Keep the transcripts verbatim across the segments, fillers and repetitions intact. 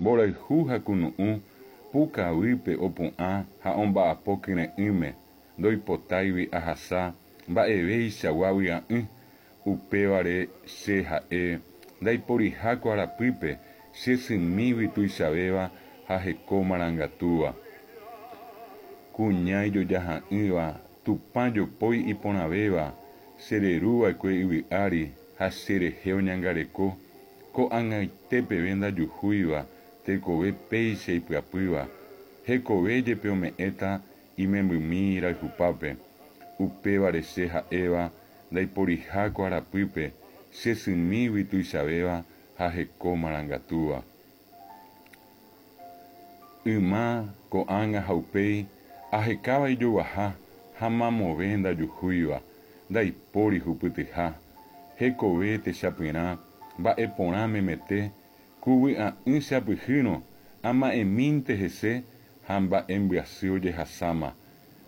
Mborayhu ha kunu'ũ, pukavýpe opu'ã ha omba'apo kyre'ỹme, ndoipotáigui ahasa mba'evéichagua vy'a'ỹ, upévare che ha'e ndaiporiha ko arapýpe che symígui tuichavéva ha heko marangatúva. Kuña ijojaha'ỹva, Tupã jopói iporãvéva, chereruva'ekue yvy ári ha cherehe oñangareko, ko'ag̃aite peve ndajuhúiva tekove péicha ipyapýva, hekove jepe ome'ẽta imembymi rayhupápe, upévare che ha'éva ndaiporiha ko arapýpe che symígui tuichavéva ha heko marangatúva. Yma, ko'ág̃a ha upéi ahekáva ijoguaha ha mamove ndajuhúiva, ndaipóri hupytyha, hekove techapyrã, mba'eporã memete, ku vy'a'ỹ chapyhýrõ, ama'ẽmínte hese ha mba'embyasy ojehasáma,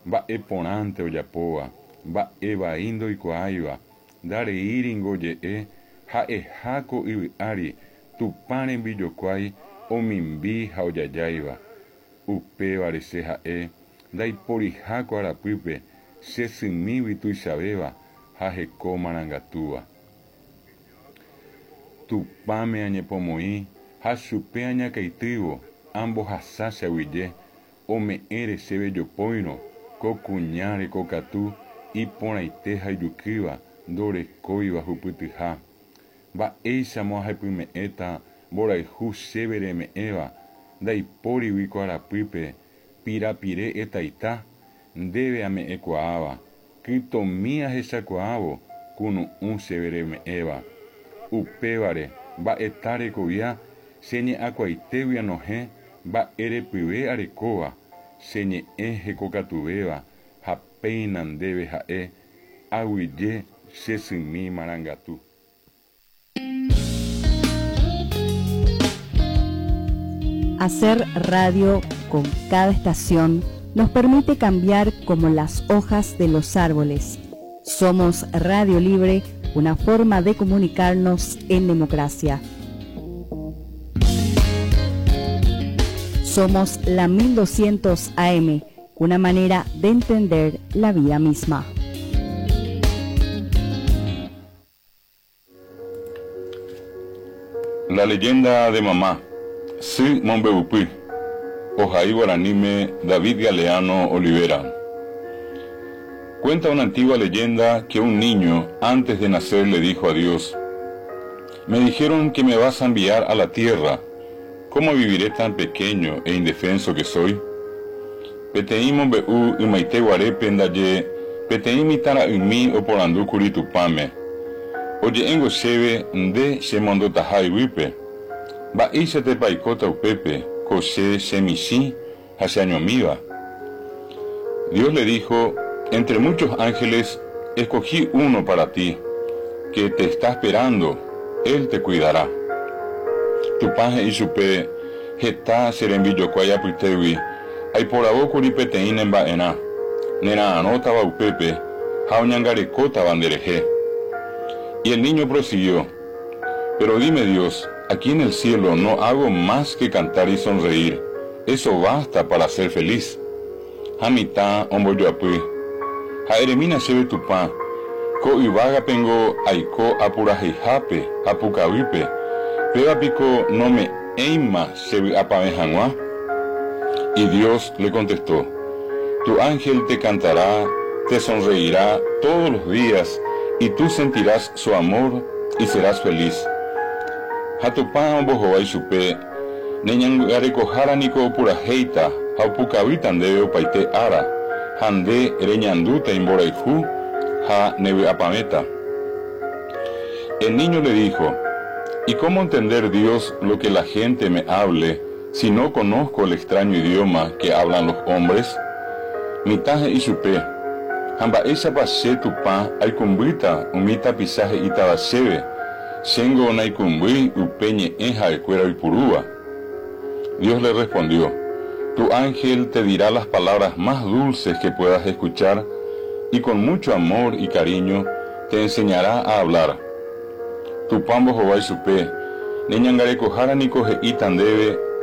mba'eporãnte ojapóva, mba'evai ndoikuaáiva, ndareíringo oje'e ha'eha ko yvy ári Tupã rembijokuái omimbi ha ojajáiva. Upévare che ha'e ndaiporiha ko arapýpe che symígui tuichavéva ha heko marangatúva. Tupãme añepomoĩ ha chupe añakãitývo ambohasa che aguyje, ome'ẽre chéve jopóirõ ko kuña rekokatu iporãite ha ijukýva ndorekóiva hupytyha. Mba'éichamo ahepyme'ẽta mborayhu chéve reme'ẽva, ndaipórigui ko arapýpe pirapire etaita, ndéve ame'ẽkuaáva, kytomi ahechakuaávo kunu'ũ chéve reme'ẽva. Upévare mba'eta rekovia che ñe'ãkuaitégui anohẽ mba'erepyve arekóva, che ñe'ẽ hekokatuvéva ha péina ndéve ha'e aguyje che symi marangatu. Hacer radio con cada estación nos permite cambiar como las hojas de los árboles. Somos Radio Libre, una forma de comunicarnos en democracia. Somos la mil doscientos A M, una manera de entender la vida misma. La leyenda de mamá, Sy Mombeupy, Ohai guaraníme David Galeano Olivera. Cuenta una antigua leyenda que un niño, antes de nacer, le dijo a Dios: Me dijeron que me vas a enviar a la tierra. ¿Cómo viviré tan pequeño e indefenso que soy? Peteĩ mombe'u ymaite guarépe ndaje peteĩ mitãra'ymi oporandúkuri Tupãme. Oje'éngo chéve nde chemondotaha yvýpe. Mba'éichatepa aikóta upépe ko che chemichĩ ha cheañomíva? Dios le dijo: Entre muchos ángeles escogí uno para ti, que te está esperando, él te cuidará. Tupã he'i chupe: Heta che rembijokuái apytégui aiporavókuri peteĩ nemba'erã, nera'arõtava upépe ha oñangarekótava nderehe. Y el niño prosiguió: Pero dime, Dios, aquí en el cielo no hago más que cantar y sonreír, eso basta para ser feliz. Ha mitã ombojoapy: Ha eremína chéve Tupã, ko yvágapengo aiko apuraheihápe ha pukavýpe, péva piko nome'ẽima che vy'apavẽ hag̃ua? Y Dios le contestó: Tu ángel te cantará, te sonreirá todos los días y tú sentirás su amor y serás feliz. Ha Tupã ombohovái chupe: Neñangarekohára niko opurahéita ha opukavýta ndéve opaite ára, ha nde reñandúta imborayhu ha nevy'apavẽta. El niño le dijo: ¿Y cómo entender, Dios, lo que la gente me hable si no conozco el extraño idioma que hablan los hombres? Mitã he'i chupe: Ha mba'éichapa che Tupã aikũmbýta umi tapicha he'ítava chéve, chéngo naikũmbýi upe ñe'ẽ ha'ekuéra oipurúva? Dios le respondió: Tu ángel te dirá las palabras más dulces que puedas escuchar y con mucho amor y cariño te enseñará a hablar. Tupã ombohovái chupe: Neñangarekohára niko he'íta ndéve